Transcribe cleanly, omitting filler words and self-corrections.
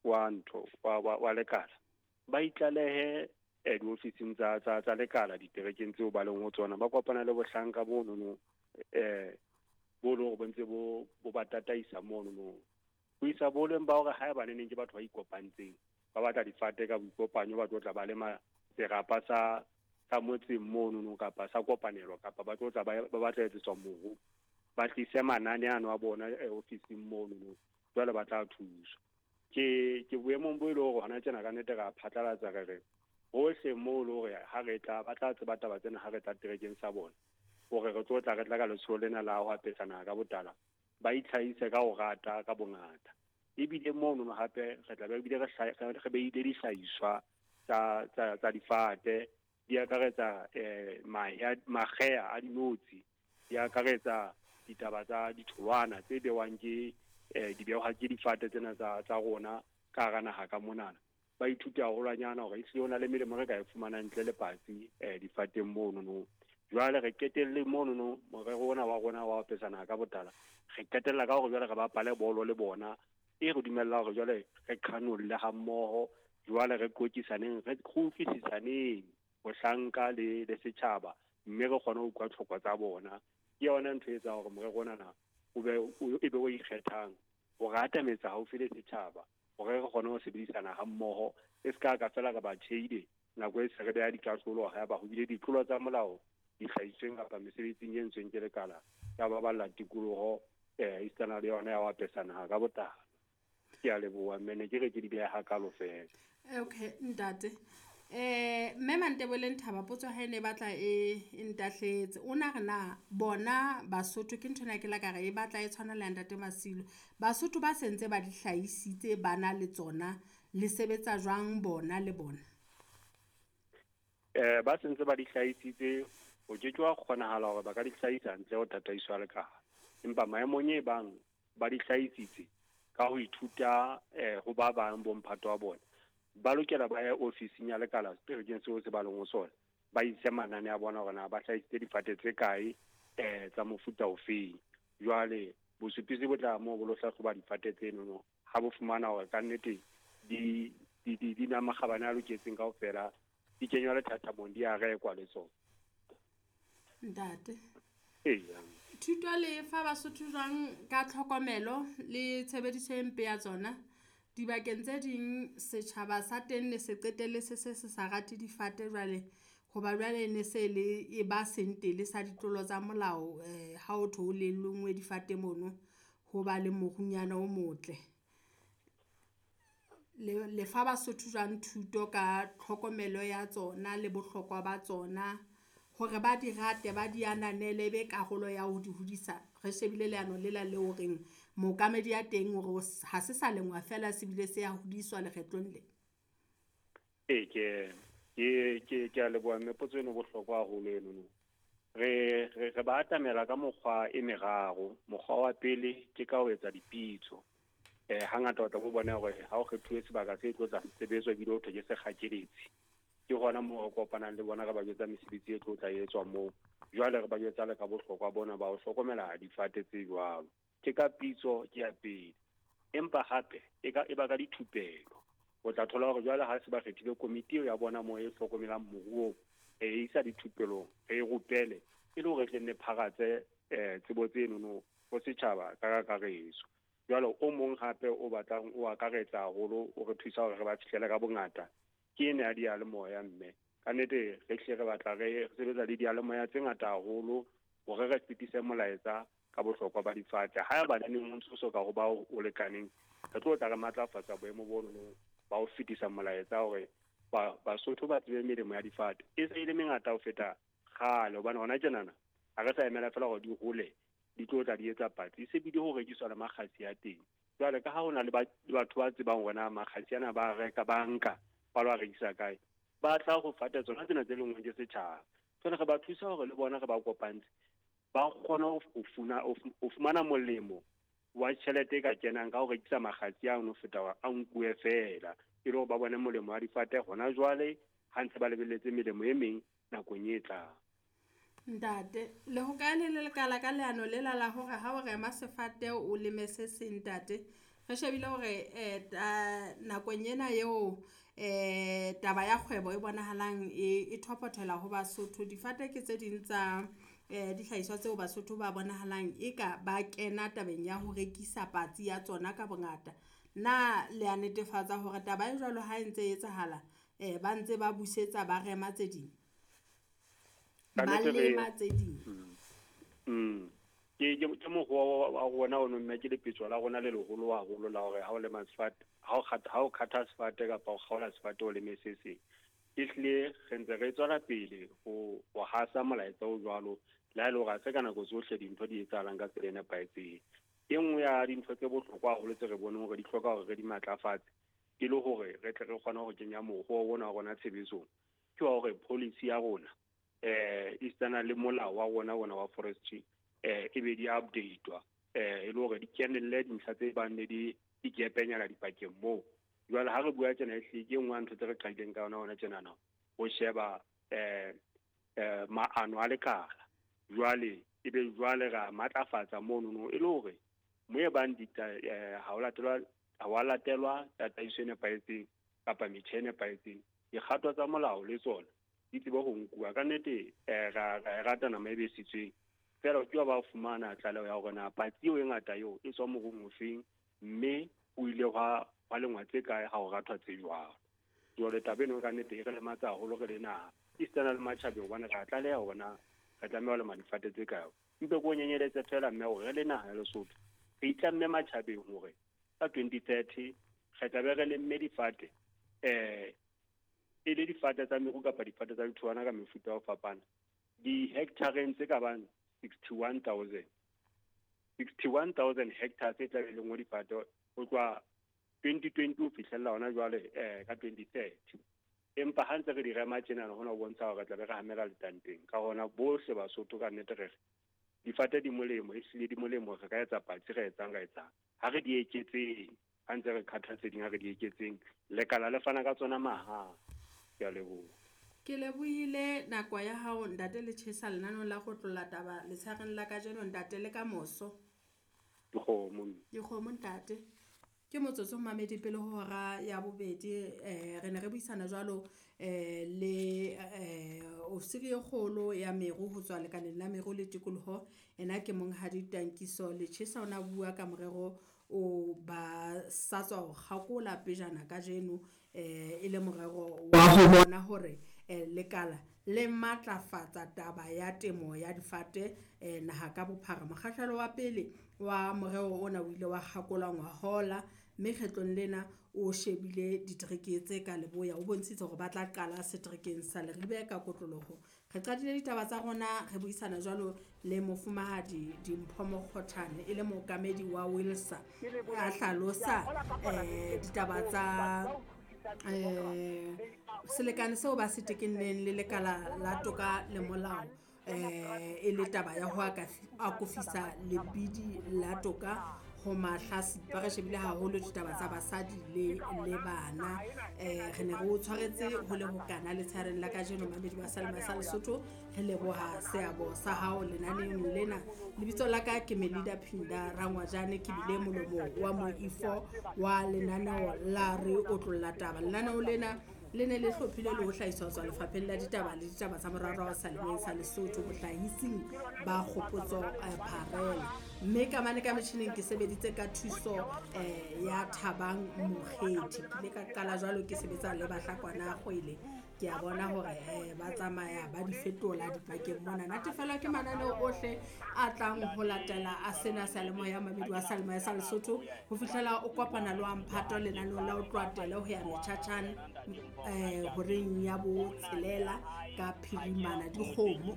wa ntho wa lekala, ba itlalehe diofising tsa lekala diterekeng tseo ba leng ho tsona, ba kopana le bohlanka bonono bo leng hore bo ntse bo ba tataisa monono. Ho isa boleng ba hore haeba neneng ke batho ba ikopantseng, ba batla difate ka boikopanyo, ba tlo tla ba lema serapa sa motseng monono kapa sa kopanelo, kapa ba tlo tla ba batla etsetswa moru, ba tlise manane ano a bona ofising monono, jwale ba tla thuswa. Ke boemong bo e leng hore hona tjena ka nnete ra phatlalatsa re re hohle moo le hore ha re tla ba tla tseba taba tsena ha re tla terekeng sa bona, hore re tlo tla re tla ka letsholo lena la ho apesa naha ka botala, ba itlhahise ka ho rata ka bongata. Ebile mono hape re tla be ebile re beile dihlahiswa tsa difate, di akaretsa makgeha a dinotshi, di akaretsa ditaba tsa ditholwana tse bewang ke di behwa ke difate tsena tsa rona ka hara naha ka monana. Ba ithute haholwanyana hore ehlile ho na le melemo re ka e fumanang ntle le patsi difateng monono. Jwale re qetelle monono morero ona wa rona wa ho apesa naha ka botala, re qetella ka hore jwale re bapale bolo le bona, e re dumella hore jwale re qhanolle ha mmoho, jwale re qoqisaneng, re utlwisisaneng bohlanka le setjhaba, mme re kgone ho utlwa tlhoko tsa bona. Ke yona ntho e etsang hore morero ona o be e be o ikgethang, hore atametsa haufi le setjhaba, hore re kgone ho sebedisana ha mmoho, e se ka ka fela re ba tjheile nako e se re beha dikahlolo haeba ho bile ditlolo tsa molao dihlahisweng kapa mesebetsing e entsweng ke lekala ya baballa tikoloho esitana le yona ya ho apesa naha ka botala. Ke a leboha mme, ne ke re ke di beha hakalo fela. Okay ntate. Mme Mantebeleng Thaba potso ha ene batla e ntahletse. O na re na bona Basotho ke ntho ena ke la ka re e batla e tshwana le ntate Masilo. Basotho ba sentse ba di hlahisitse ba na le tsona, le sebetsa jwang bona le bona? Ba sentse ba di hlahisitse, ho ke ke wa kgonahala hore ba ka di hlahisa ntle ho tataiso ya lekala. Empa maemong e bang ba di hlahisitse ka ho ithuta ho ba bang bo mphato wa bona, ba lokela ba ye ofising ya lekala seterekeng seo se ba leng ho sona, ba ise manane a bona hore na ba hlahisitse difate tse kae tsa mofuta ofeng. Jwale bosupisi bo tla moo bo lo hlahloba difate tsenono, ha bo fumana hore ka nnete di na makgabane a loketseng kaofela, di kenywa lethathamong, di a rekwa le tsona. Ntate. Eya. Thuto le fa Basotho jwang ka tlhokomelo le tshebediso e mpe ya tsona? Dibakeng tse ding setjhaba sa teng ne se qetelle se se se sa rate difate jwale, hoba jwale ne se le e ba sentele sa ditlolo tsa molao, ha o thwe ho le lengwe difate mono, ho ba le morunyana o motle. Le fa Basotho jwang thuto ka tlhokomelo ya tsona le bohlokwa ba tsona, hore ba di rate, ba di ananele, be karolo ya ho di hodisa? Re shebile leano lela le horeng mookamedi ya teng hore ha se sa lengwa fela, se bile se ya hodiswa lekgetlong le. Ee, ke a leboha mme, potso eno bohlokwa haholo eno. Re ba atamela ka mokgwa e meraro. Mokgwa wa pele ke ka ho etsa dipitso. Hangata o tla bo bona hore ha o kgethuwe sebaka se tlo tla sebetswa ebile ho thwe ke sekgakeletsi, ke hona moo re kopanang le bona, re ba jwetsa mesebetsi e tlo tla etswa moo. Jwale re ba jwetsa le ka bohlokwa bona ba ho hlokomela difate tse jwalo. Ke ka pitso ke ya pele. Empa hape e ba ka dithupelo. O tla thola hore jwale ha se ba kgethile komiti eo ya bona moo e hlokomelang moruo, e isa dithupelong, re e rupele e le hore tle nne pharatse tsebo tsenono ho setjhaba ka kakaretso. Jwale o mong hape o batlang o akaretsa haholo, o re thusa hore re ba fihlele ka bongata, ke ena ya diyalemoya mme. Ka nnete re hlile re batla re sebetsa le diyalemoya tse ngata haholo hore re fetise molaetsa ka bohlokwa ba difate. Haeba neneng o ntso so ka ho ba o lekaneng, re tlo tla re matlafatsa boemo bono ba ho fetisa molaetsa hore Basotho ba tsebe melemo ya difate. E se e le mengata ho feta kgale, hobane hona tjenana ha re sa emela fela hore di hole, di tlo tla di etsa patsi, e se bile ho rekiswa le makgasi a teng. Jwale ka ha ho na le batho ba tsebang hore na makgasi ana ba reka, ba nka, ba lo a rekisa kae, ba tla ho fata tsona tsena tse lengwang ke setjhaba. Jwale re ba thusa hore le bona re ba kopantse, ba kgone ho fumana molemo wa tjhelete e ka kenang ka ho rekisa makgasi ano ho feta hore a nkuwe fela, e le hore ba bone molemo wa difate hona jwale, ha ntse ba lebelletse melemo e meng nakong e tlang. Ntate, le ho kae le lekala ka leano lela la hore ha o rema sefate o leme se seng, ntate? Re shebile hore nakong ena eo taba ya kgwebo e bonahalang e thopothela ho Basotho. Difate ke tse ding tsa dihlahiswa tseo Basotho ba bonahalang eka ba kena tabeng ya ho rekisa patsi ya tsona ka bongata. Na le ya netefatsa hore taba e jwalo ha e ntse e etsahala, ba ntse ba busetsa ba rema tse ding? Ba lema tse ding. Ke mokgwa wa rona ono, mme ke lepetjo la rona le leholo haholo la hore ha o lema sefate, ha o kgatha sefate kapa o kgaola sefate o leme se seng. Ehlile re ntse re tswela pele ho hasa molaetsa o jwalo, le ha e le hore ha se ka nako tsohle dintho di etsahalang ka tsela e nepahetseng. E nngwe ya dintho tse bohlokwa haholo tse re boneng hore di hloka hore re di matlafatse, e le hore re tle re kgone ho kenya mokgwa ona wa rona tshebetsong, ke wa hore policy ya rona esitana le molao wa rona ona wa forestry e be di update-wa, e le hore di kenelle dintlha tse bang le di gepenyana dipakeng moo. Jwale ha re bua tjena, ehlile ke e nngwe ya ntho tse re qadileng ka yona hona tjenana, ho sheba maano a lekala. Jwale ebe jwale ra matlafatsa monono, e le hore mo e bang ha wa latelwa tataiso e nepahetseng kapa metjha e nepahetseng, dikgato tsa molao le tsona di tsebe ho nkuwa. Ka nnete ra e rata nama e besitsweng, fela o ke wa ba fumana tlaleho ya hore na patsi eo e ngata eo e tswa morung ofeng, mme o ile hwa lengwa tse kae ha o rathwa tse jwalo. Jwale taba eno ka nnete e re lematsa haholo re le naha, esitana le matjhabeng, hobane re a tlaleha hore na re tlameha ho lema difate tse kae. Mpe ke o nyenyeletse fela mme hore re le naha ya Lesotho re itlamme matjhabeng hore ka 2030 re tla be re lemme difate, e le difate tsa meru kapa difate tsa ditholwana ka mefuta ya ho fapana, di-hectareng tse ka bang 61,000. 61,000 hectares tse tla be lengwe difate ho tloha 2020 ho fihlella hona jwale ka 2030. Empa ha ntse re di rema tjena, hona ho bontsha hore re tla be re hamela letanteng. Ka hona bohle Basotho ka nnete re re difate di molemo, ehlile di molemo, re ka etsa patsi, re etsang. Ha re di eketseng, ha ntse re khatha tse ding, ha re di eketseng. Lekala le fana ka tsona mahala. Ke a leboha. Ke lebohile nako ya hao ntate Lechesa lenaneong la go tlola taba letshareng la kajeno ntate, le ka moso. Dikgomo ntate. Ke motsotso mamedi pele ho hora ya bobedi, re ne re buisana jwalo le ofisiri e kgolo ya meru ho tswa lekaleng la meru le tikoloho. Ena ke monghadi Tankiso Lechesa, o na bua ka morero o ba sa tswa ho kgakola pejana kajeno, e le morero wa ho bona hore lekala le matlafatsa taba ya temo ya difate naha ka bophara. Mokgahlelo wa pele wa morero ona o ile wa kgakolwa ngwahola, mme kgetlong lena o shebile ditereke tse ka leboya, o bontshitse hore ba tla qala seterekeng sa Leribe ka kotloloho. Re qadile ditaba tsa rona re buisana jwalo le mofumahadi Dimpho Mokgothane, e le mookamedi wa Wilsa, a hlalosa ditaba tsa selekane seo ba se tekenneng le lekala la toka le molao, e le taba ya ho akofisa lebidi la toka ho mahlasipa. Re shebile haholo ditaba tsa basadi le bana. Re ne re o tshwaretse ho le hokana letshareng la kajeno mamedi wa Seyalemoya sa Lesotho. Re leboha seabo sa hao lenaneong lena. Lebitso la ka ke Melida Phinda Rangwajane, ke bile molomo wa moifo wa lenaneo la Re Otlolla Taba. Lenaneo lena le ne le hlophile le ho hlahiswa ho tswa lefapheng la ditaba le ditaba tsa moraorao Seyalemoyeng sa Lesotho, bohlahising ba Kgopotso Pharela. Mme ka mane ka metjhining ke sebeditse ka thuso ya Thabang Mokgethi. Ke ile ka qala jwalo ke sebetsa le Bahlakwana Kgwele. Ke a bona hore ba tsamaya ba di fetola dipakeng mona. Natefelwa ke mananeo ohle a tlang ho latela a sena seyalemoya, mamedi wa Seyalemoya sa Lesotho, ho fihlela o kopana le wa mphato lenaneong la ho tloha ho ya metjhatjhane horeng ya botshelela ka phirimana dikgomo.